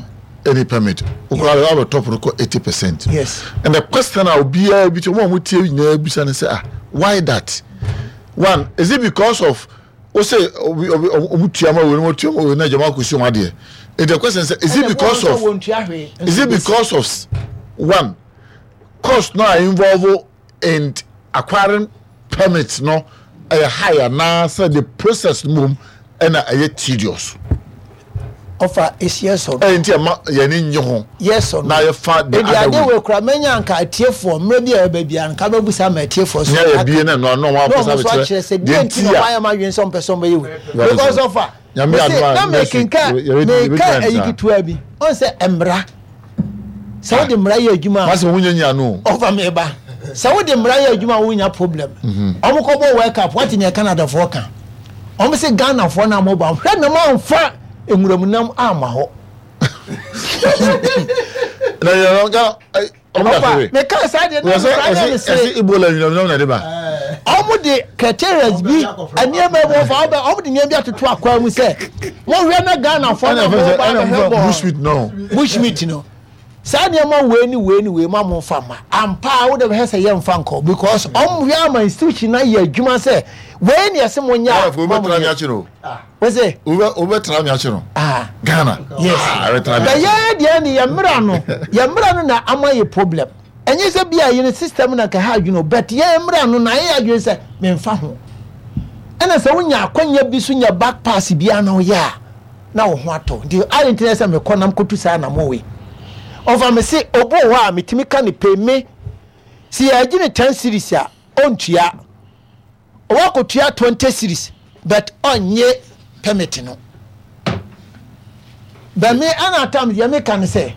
Speaker 3: any permit, wokora wabɛ top no kɔ eighty percent.
Speaker 4: Yes.
Speaker 3: And the question a obiara bi tí wɔn a wɔn tie nyinaa bisa ne sɛ, ah, why that one? Is it because of o sɛ obi obi ɔmo tua ma wei, ɔmo tua ma wei na jama kò si wɔn adeɛ? And the question sɛ, is it because of is it because of one cost no a involve in acquiring permit no ɛyɛ high anaasɛ the process no mom ɛna ɛyɛ tedious?
Speaker 4: Ɔfa esi ɛsɔ.
Speaker 3: Ɛyɛ nti ɛma yɛn nye ho.
Speaker 4: Yes or no?
Speaker 3: Na yɛfa the
Speaker 4: Ebi
Speaker 3: other
Speaker 4: ade
Speaker 3: way.
Speaker 4: Wei kura menya nka atiefoɔ mmerɛ bi a ɛbɛ bia nka bɛbusa ma atiefoɔ so.
Speaker 3: Nyɛ yɛ bie na ɛno ano ɔmo
Speaker 4: na
Speaker 3: apɛ
Speaker 4: ɔmo
Speaker 3: sɛ
Speaker 4: nso akyerɛ sɛ
Speaker 3: abɛkyerɛ
Speaker 4: deɛ nti na
Speaker 3: deɛ
Speaker 4: ɔmo ayɛ ma adwene sɛ ɔmpɛ sɛ ɔmbɛyɛ wei
Speaker 3: Very
Speaker 4: because
Speaker 3: good.
Speaker 4: ɔfa
Speaker 3: Nyame
Speaker 4: mese
Speaker 3: adom a
Speaker 4: na
Speaker 3: next week,
Speaker 4: mekenka
Speaker 3: yɛ- yɛ-
Speaker 4: meka
Speaker 3: yɛbɛtumi
Speaker 4: ayi
Speaker 3: ansa.
Speaker 4: ketewa bi ɔn sɛ mmara, sɛ wode mmara yɛ adwuma a
Speaker 3: Masɛ wɔn nyɛ nyia no.
Speaker 4: Ɔfa me ba sɛ wode mmara yɛ adwuma a, wonya problem. Ɔmo kɔbɔ World Cup, wate nea Canadafoɔ ka? Ɔmo sɛ Ghanafoɔ no a moba hwɛ nam amfa nwuramunam amma hɔ.
Speaker 3: Na yɛ ɔga ɔmo da
Speaker 4: Ɔfa
Speaker 3: fere.
Speaker 4: meka saa deɛ na
Speaker 3: wɔsɛ
Speaker 4: mekora ne
Speaker 3: ɛsi
Speaker 4: me
Speaker 3: ɛsi
Speaker 4: sere.
Speaker 3: Ebola nwinam na de ba.
Speaker 4: Ɔmo de criteria bi, nneɛma bi wɔfa ɔbɛ ɔmo de nneɛma bi atoto akwan mu sɛ mohwɛ na Ghanafoɔ
Speaker 3: ɛna
Speaker 4: na
Speaker 3: ɛfɛ sɛ
Speaker 4: mo ba
Speaker 3: ɛna
Speaker 4: bɛhwɛ
Speaker 3: ɛfɛ
Speaker 4: bɔɔl.
Speaker 3: Bushmeat no.
Speaker 4: Bushmeat no, saa nneɛma wei ne wei ne wei ma mo nfa ma ampa a wode bɛhwɛ sɛ yɛmfa nkɔ because ɔmo hwɛ ama institution na yɛ adwuma sɛ wei ne ɛsɛ mo nyɛ a
Speaker 3: Ghana fo
Speaker 4: ma mo
Speaker 3: wobɛtena mi
Speaker 4: nyɛ.
Speaker 3: akyi no.
Speaker 4: Wose
Speaker 3: wobɛ wobɛtena mi akyi no.
Speaker 4: Ah.
Speaker 3: Ghana.
Speaker 4: Yes.
Speaker 3: Ah, wobɛtena mi
Speaker 4: bɛ
Speaker 3: akyi.
Speaker 4: yɛn deɛ ne yɛ mmra no, yɛ mmra no na ama yɛ problem. Ɛnyɛ sɛ bi a yɛn system na ka ha adwene o, but yɛn mmra no na yɛ adwene sɛ memfa ho. Ɛna sɛ wonya akwanya bi so nya back pass bi a na woyɛ a na wo ho atɔ. Nti ayɛ nti sɛ mekɔ nam kɔtu saa na mowei ɔfa me se obi wɔ hɔ a metumi ka ne pay me si yɛagye ne ten cedis a, ɔntua. Ɔwɔ twenty cedis but ɔnyɛ permit no. Bɛmi ɛna tam deɛ meka ne sɛ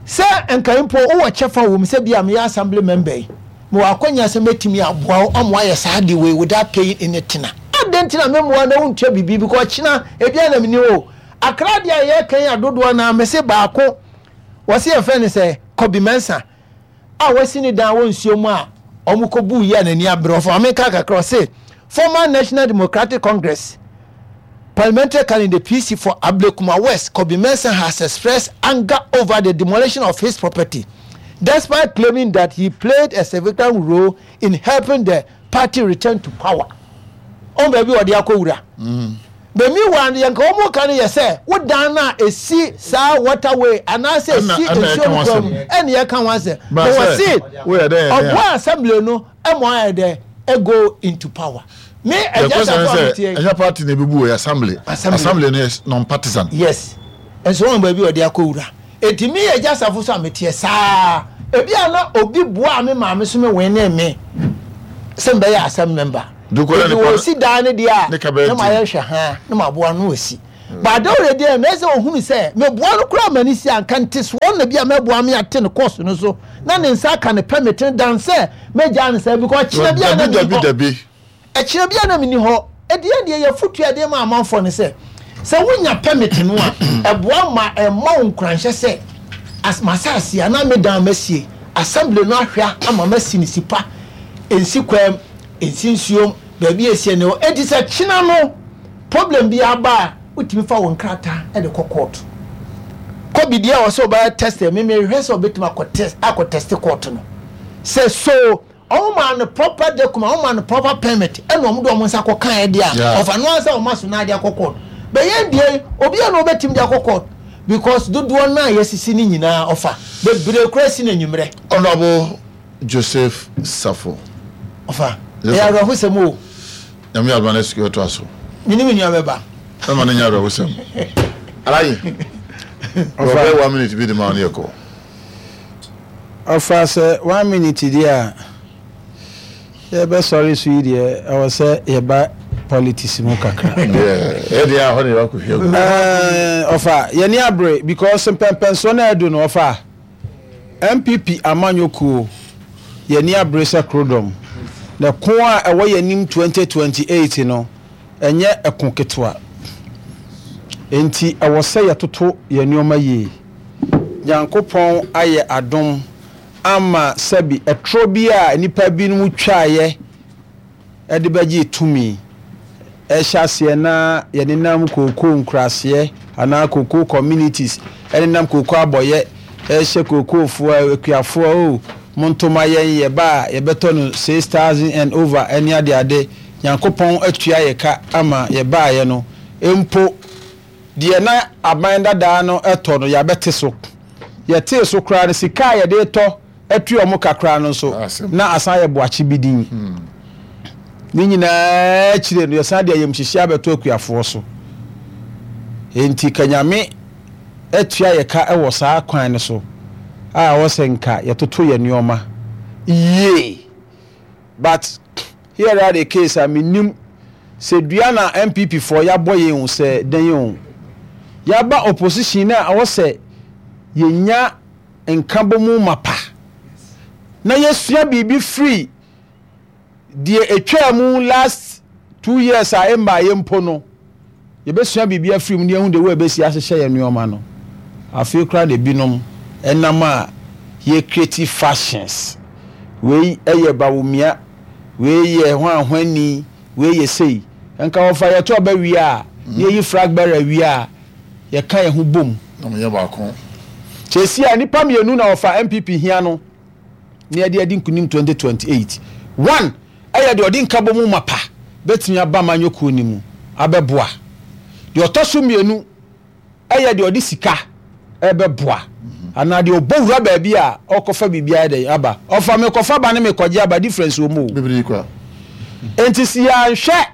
Speaker 4: sɛ nka mpo wowɔ kyɛfa wɔ mu sɛ bi a meyɛ assembly member yi, mewɔ akɔnya sɛ mɛtumi aboa wo ɔmo ayɛ saa de wei without paying anything a, adɛn nti na memmoa na wontua biribi? Because kyena ebia na meni o akra deɛ a yɛka yi adodoɔ na mese baako wɔse yɛfrɛ no sɛ Kɔbi Mɛnsa a wasi ne dan wɔ nsuo mu a ɔmo kɔbu yi a n'ani abere. Ɔfɔ ameka kakra, ɔse former National Democratic Congress parliamentary candidate, P C for Ablekuma West, Kobi Mensah, has expressed anger over the demolition of his property despite claiming that he played a significant role in helping the party return to power. Ɔn baabi wɔde akɔ wura bɛmi wa yɛn ka wɔn ka no yɛ sɛ wodan na esi saa waterway anaasɛ esi
Speaker 3: Ɛna- ɛna
Speaker 4: nsuo
Speaker 3: yɛka
Speaker 4: no
Speaker 3: ho
Speaker 4: kwan mu
Speaker 3: asɛm.
Speaker 4: ɛna yɛka ho asɛm.
Speaker 3: Ba
Speaker 4: na
Speaker 3: sɛ,
Speaker 4: wɔsi
Speaker 3: woyɛ dɛn yɛ dɛn a?
Speaker 4: ɔboa assembly no ɛmo ayɛ dɛ ɛgo into power me
Speaker 3: the
Speaker 4: ɛgya
Speaker 3: question
Speaker 4: safo
Speaker 3: is
Speaker 4: a metie.
Speaker 3: sɛ ɛnyɛ party na ebi bu wɔ assembly.
Speaker 4: Assembly.
Speaker 3: Assembly no yɛ non partisan.
Speaker 4: Yes, nso wɔn baabi wɔde akɔ wura eti mi yɛ gya safo so a meteɛ saa ebi a na obi boa me maame so me wɛn ne me sɛ mbɛyɛ assembly member. Nti wɔsi dan no deɛ a, na ma yɛhwɛ ha na ma aboa no wɔsi. But Dawuro deɛ, na ɛsɛ ohunu sɛ meboa no koraa ma ne si anka nte soɔ na bi a mɛboa me ate ne course no so na ne nsa aka ne permit no dan sɛ mɛgyaa no sɛ, because kyerɛ bi a na
Speaker 3: Dabi, dabi, dabi.
Speaker 4: Ɛkyerɛ bi a na menni hɔ. Ɛdeɛ deɛ yɛfotu adeɛ ma amanfoɔ no sɛ sɛ wonya permit no a, ɛboa ma ɛma wo nkuranhyɛ sɛ as masase anaa me dan masie, assembly no ahwɛ ama masi ne si pa, ɛnsi kwam, ɛnsi nsuom, baabi a ɛsie ne hɔ. Enti sɛ kyena no problem bi aba a, wotumi fa wo nkrataa de kɔ court. Kɔbi deɛ wɔ sɛ ɔbɛyɛ test, me mehwɛ sɛ ɔbɛtumi akɔ test, akɔ test court no sɛ so ɔmo maa no proper document, ɔmo maa no proper permit, ɛna ɔmo de ɔmo nsa kɔ kan ɛdeɛ a ɔfa no ansa ɔmo aso na ade akɔ court. Bɛyɛ deɛ obi a na ɔbɛtumi de akɔ court, because dodoɔ naa yɛsisi ne nyinaa ɔfa bebree kura si n'enyimrɛ.
Speaker 3: Honourable Joseph Safo.
Speaker 4: Ɔfa ɛyɛ awerɛhosɛm o.
Speaker 3: Nyame adoma no sukuu ɛto aso.
Speaker 4: Mene me nua bɛba.
Speaker 3: Ɛma no nyɛ awerɛhosɛm. Alayi. Ɔbɛ one minute bi de ma ɔne yɛ kɔ.
Speaker 5: Ɔfa sɛ one minute deɛ a yɛbɛsɔre so yi deɛ, ɛwɔ sɛ yɛba politics mu kakra.
Speaker 3: Ɛdeɛ a hɔ ne yɛbakɔ hwɛ gu.
Speaker 5: Ɔfa yɛne abere because mpɛmpɛnsoɔ no ɛdu no, ɔfa N P P amanyɔkuo, yɛne abere sɛ korodɔm na ko a ɛwɔ yɛnim twenty twenty-eight no ɛnyɛ ɛko ketewa, nti ɛwɔ sɛ yɛtoto yɛn nneɛma yie. Nyankopɔn ayɛ adom ama sɛbi ɛtorɔ bi a nnipa binom twaeɛ ɛde bɛgye tumi ɛhyɛ aseɛ na yɛnenam kookoo nkuraseɛ anaa kookoo communities, ɛnenam kookoo abɔyɛ, ɛhyɛ kookoofoɔ, akuafoɔ o, montoma yɛn, yɛba a yɛbɛtɔ no six thousand and over ɛne adeade. Nyankopɔn atua yɛ ka ama yɛbaayɛ no mpo deɛ, na aban dadaa no ɛtɔ no, yɛabɛte so. Yɛtee so koraa no, sika a yɛde tɔ atua ɔmo kakra no nso na asan yɛ boakye bi din. Ne nyinaa akyire no, yɛsan de ayamhyehye abɛto akuafoɔ so. Nti kanyame atua yɛ ka wɔ saa kwan no so a ɛwɔ sɛ nka yɛtoto yɛ nneɛma yie. But here are the case a menim sɛ dua na N P P foɔ yɛabɔ yɛn o, sɛ dan o, yɛaba opposition na ɛwɔ sɛ yɛnya nkabɔmu mapa na yɛsua biribi firi deɛ etwaa mu last two years a ɛmma yɛ mpo no. Yɛbɛsua biribi afiri mu ne yɛhu de wo ɛbɛsi ahyehyɛ yɛn nneɛma no. Afei koraa na ebinom ɛnam a yɛ creative fashions, wei ɛyɛ Bawumia, wei yɛ hwanhwani, wei yɛ sei. Nka wɔfa yɛto ɔbɛ wie a, ne yɛyi flag bearer wie a, yɛka yɛn ho bom.
Speaker 3: Na mo yɛ baako.
Speaker 5: Kyesi a nipa mmienu na wɔfa N P P hia no ne yɛde adi nkunim twenty twenty-eight. One ɛyɛ deɛ ɔde nkabɔ mu mapa bɛtumi aba amanyɔkuo no mu abɛboa. Deɛ ɔtɔ so mmienu ɛyɛ deɛ ɔde sika ɛbɛboa anaa deɛ ɔbɔ wura baabi a ɔkɔfa biribi ayɛ dɛ aba. Ɔfa mekɔfa ba ne mekɔgye aba, difference wɔ mu o.
Speaker 3: Bebree kura.
Speaker 5: Nti si yɛanhwɛ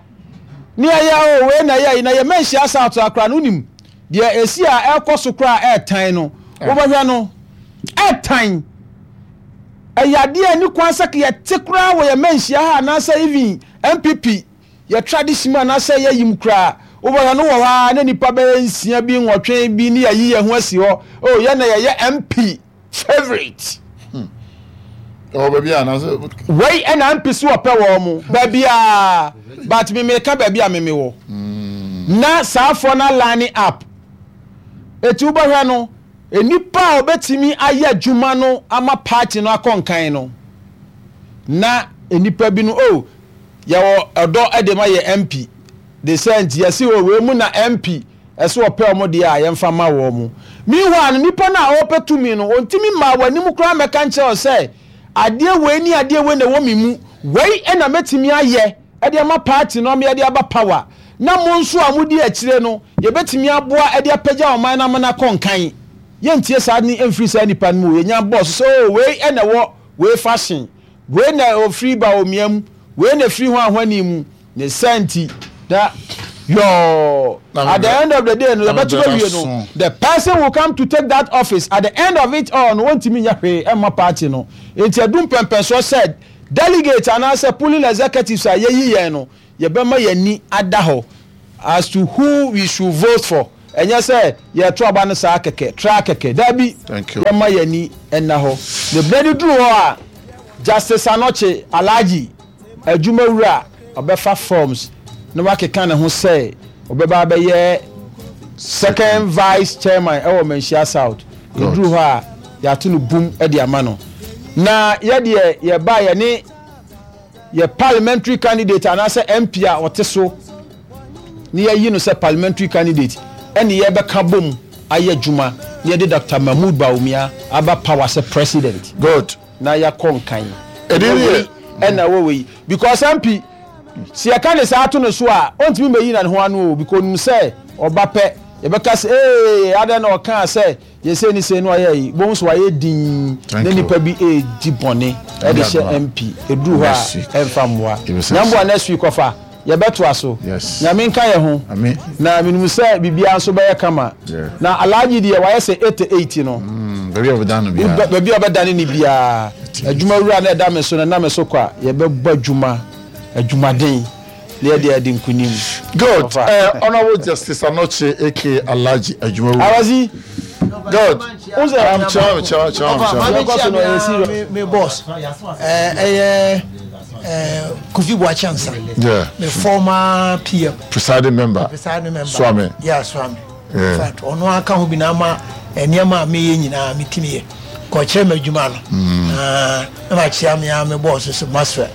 Speaker 5: ne yɛyɛ o, wei na yɛ yi na yɛma nhyia south akora no, wonim deɛ esi a ɛkɔ so koraa, ɛɛtan no, wobɛhwɛ no ɛɛtan. Ɛyɛ adeɛ a ni kwan sɛ yɛte koraa wɔ yɛn manhyia ha anaasɛ even N P P yɛ tradition mu anaasɛ yɛyim koraa. Wobɛhwɛ no wɔ hɔ a, na nipa bɛyɛ nsia bi, nwɔtwe bi ne yɛyi yɛn ho asi hɔ o, yɛn na yɛyɛ M P favourite.
Speaker 3: Ɛwɔ baabi a anaasɛ.
Speaker 5: Wei ɛna M P so wɔpɛ wɔn mo baabi a, but me meka baabi a meme wɔ na saafoɔ na line up. Eti wobɛhwɛ no, nipa a obetumi ayɛ adwuma no ama party no akɔ nkan no, na nipa bi no o, yɛwɔ ɛdɔ ɛde ma yɛ M P de sɛ nti yɛsi o, wei mu na M P ɛsɛ ɔpɛ ɔmo deɛ a yɛmfa ma wɔn mo. Meanwhile no, nipa no a ɔpɛ tumi no, ontumi mmaa w'anim koraa mɛka nkyerɛ wo sɛ adeɛ wei ne adeɛ wei na ɛwɔ mi mu, wei ɛna mɛtumi ayɛ ɛde ama party no ama yɛde aba power, na mo nso a modi akyire no yɛbɛtumi aboa ɛde apagya ɔman no ama no akɔ nkan. Yɛntie saa ne mfiri saa nipa no mu. Yɛnya bɔs sɛ o, wei ɛna ɛwɔ wei fashion, wei na ofiri ba omia mu, wei na efiri ho ahwani mu ne sɛ nti na yɔɔ, at the end of the day no, yɛbɛto bɛwie no, the person will come to take that office. At the end of it all no, wɔntumi nyɛ hwee ɛmma party no. Nti ɛdu mpɛmpɛnsoɔ sɛ Delegate anaasɛ polling executives a yɛyi yɛn no, yɛbɛma yɛn ani ada hɔ as to who we should vote for. Ɛnyɛ sɛ yɛto aba no saa kɛkɛ, tra kɛkɛ. Dabi,
Speaker 3: Thank you.
Speaker 5: yɛma yɛn ani nna hɔ. Ne berɛ no duru hɔ a, Justice Anokye Alhaji adwumawura ɔbɛfa forms na wakeka ne ho sɛ ɔbɛba abɛyɛ second vice chairman ɛwɔ Manhyia South. Ɛduru hɔ a, yɛato no bum de ama no. Na yɛdeɛ yɛba yɛne yɛ parliamentary candidate anaasɛ M P a ɔte so ne yɛyi no sɛ parliamentary candidate, ɛne yɛbɛka bom ayɛ adwuma na yɛde Doctor Mahmood Bawumia aba power sɛ president
Speaker 3: Good.
Speaker 5: na yɛakɔ nkan.
Speaker 3: Ɛdi
Speaker 5: Ɛwɔ
Speaker 3: yɛ.
Speaker 5: wei, ɛna ɛwɔ wei, because M P si yɛka ne saa ato no so a, ɔntumi mɛyi na ne ho ano o, because onim sɛ ɔba pɛ, yɛbɛka sɛ ee, adɛn na ɔkaa sɛ yɛsɛ ne sɛ no ayɛ yi bohu so wayɛ din
Speaker 3: Thank
Speaker 5: na
Speaker 3: you.
Speaker 5: nipa bi edi bɔne ɛde hyɛ
Speaker 3: Adoma.
Speaker 5: M P eduru hɔ
Speaker 3: Next
Speaker 5: a
Speaker 3: week.
Speaker 5: ɛmfa mmoa.
Speaker 3: Yɛbɛsa
Speaker 5: Nyamboa, next week ɔfa yɛbɛtoa so.
Speaker 3: Yes.
Speaker 5: Nyame nka yɛ ho.
Speaker 3: Amen.
Speaker 5: Na menim sɛ biribiara nso bɛyɛ kama.
Speaker 3: Yeah.
Speaker 5: Na Alhaji deɛ, wayɛ sɛ eighty-eight no.
Speaker 3: Mm, baabi a wɔbɛdan no biara.
Speaker 5: Ba- baabi a ɔbɛdane ne biara, adwuma wura na ɛda me so no, ɛna me so kɔ a, yɛbɛbɔ adwuma, adwumaden, na yɛde adi nkonim.
Speaker 3: Good.
Speaker 5: Ɔfa.
Speaker 3: Uh, Honorable Justice Anokye A K A Alhaji Adwumawura.
Speaker 5: Awasi.
Speaker 3: Good.
Speaker 5: Who's
Speaker 3: Um, chairman, chairman, chairman,
Speaker 4: Ɔfa
Speaker 3: chairman.
Speaker 4: maame
Speaker 5: Yɛkɔ so no, ɛyɛ
Speaker 4: kyia
Speaker 5: serious.
Speaker 4: me me boss, ɛɛ ɛyɛ ɛɛ Kofi Buakye Ansa,
Speaker 3: Yeah.
Speaker 4: me former P M,
Speaker 3: Presiding member.
Speaker 4: Presiding member.
Speaker 3: Swami.
Speaker 4: Yeah, Swami.
Speaker 3: Yeah.
Speaker 4: In fact, ɔno aka ho bi na ama nneɛma a meyɛ nyinaa metumi yɛ kɔkyerɛ me adwuma no. Ah, na makyia me a me boss so, Maswell,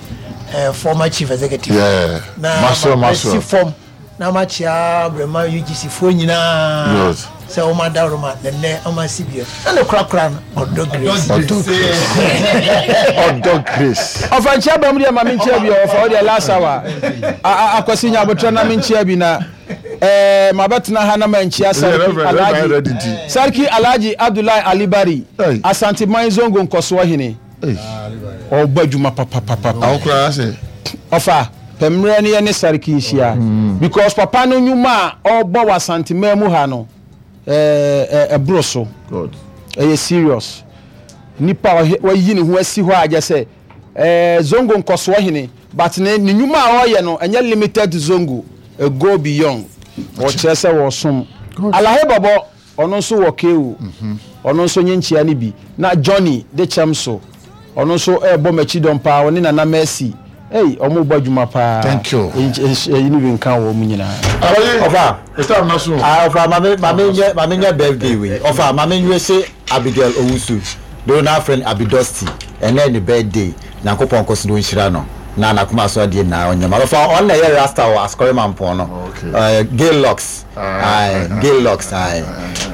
Speaker 4: eh, former chief executive.
Speaker 3: Yeah.
Speaker 4: Na
Speaker 3: Maxwell,
Speaker 4: ma-
Speaker 3: Maxwell.
Speaker 4: masi fam na makyia Brɛma U G C foɔ nyinaa
Speaker 3: Good.
Speaker 4: sɛ wɔma dawroma nɛnɛ ɔma si bio na ne korakora no, Ɔdɔ Grace.
Speaker 3: Ɔdɔ Grace. Ɔdɔ Grace.
Speaker 5: Ɔfa nkyia bɛm deɛ, ma menkyia bi. Ɔfa wo deɛ, last hour. A- a- akwasi nya abotrɛ na menkyia bi na ɛɛ mabɛtena ha na mankyia Sarki
Speaker 3: Reverend, Reverend
Speaker 5: Alhaji
Speaker 3: ready nti.
Speaker 5: Sarki Alhaji Abdullahi Alibari,
Speaker 3: Hey.
Speaker 5: Asanteman Zongo nkɔsoɔ hene.
Speaker 3: Hey.
Speaker 5: Ɔbɔ adwuma papapapa.
Speaker 3: Awo koraa sɛ.
Speaker 5: Ɔfa pɛmmerɛ no yɛ ne Sarki nhyia, because papa no nnwuma a ɔrebɔ wɔ Asanteman mu ha no, ɛɛ ɛ- ɛboro so.
Speaker 3: God.
Speaker 5: Ɛyɛ serious. Nipa a ɔhe- wayi ne ho asi hɔ a gye sɛ ɛɛ zongo nkɔsoɔ hene, but ne ne nnwuma a ɔreyɛ no ɛnyɛ limited to zongo, ɛ go beyond. Ɔkyerɛ sɛ wɔsom Alahe Bɔbɔ, ɔno nso wɔ kewu, ɔno nso nye nkyia no bi. Na Johnny de kyɛm so, ɔno nso ɛrebɔ m'akyi dɔm paa, ɔne Nana Mercy. Ei, ɔmo bɔ adwuma paa.
Speaker 3: Thank you.
Speaker 5: Ɛyi no bi nka wɔ mu nyinaa.
Speaker 3: Alaji.
Speaker 7: Ɔfa.
Speaker 3: It's na so.
Speaker 7: Ah, ɔfa maame maame nyɛ maame nyɛ birthday wei. Ɔfa maame nwe se Abigail Owusu do na friend Abidosti, ɛnɛ ne birthday. Nyankopɔn kɔ so do nhyira no na n'akoma so adeɛ nyinaa ɔnyɛ ma. Ɔfa ɔno na ɛyɛ rasta wɔ Asɔre Mampɔn no.
Speaker 3: Okay.
Speaker 7: Ɛɛ Gay Locks.
Speaker 3: Ah,
Speaker 7: Aye, Gay Locks, aye.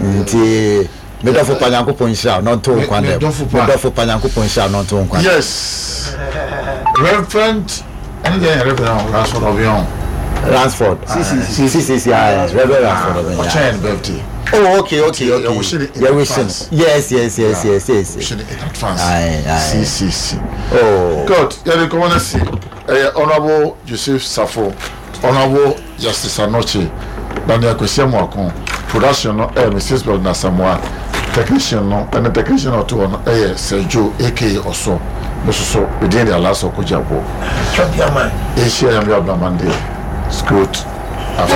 Speaker 7: Nti medɔfo pa, Nyankopɔn nhyira wo na ɔnto wo nkwa
Speaker 3: Me-
Speaker 7: dɛm.
Speaker 3: medɔfo pa.
Speaker 7: Medɔfo pa, Nyankopɔn nhyira wo na ɔnto wo nkwa dɛm.
Speaker 3: Yes. Reverend. Ɛne deɛ yɛ Reverend Ransford Obion.
Speaker 7: Ransford C C C, aye, Reverend Ransford Obion.
Speaker 3: Ɔkyɛn ne birthday.
Speaker 7: Oh, okay okay
Speaker 3: Yeah,
Speaker 7: okay
Speaker 3: we should in
Speaker 7: Yeah, we should.
Speaker 3: advance.
Speaker 7: Yes yes yes yes yes
Speaker 3: We should in advance.
Speaker 7: Aye, aye.
Speaker 3: C C C.
Speaker 7: Oh.
Speaker 3: Good. Yɛde nkɔmɔ no si ɛyɛ Honourable Joseph Safo, Honourable Justice Anokye, Daniel Kwesi Amoako. Production no ɛyɛ Missus Bernard Samoa. Technician no ɛne technician a ɔto hɔ no ɛyɛ Sergio A K A Ɔsɔ. Me soso medin de Alasa Ɔkɔgye Aboɔ.
Speaker 4: Champion man.
Speaker 3: Ahyia Nyame Abnaman deɛ. It's good. After.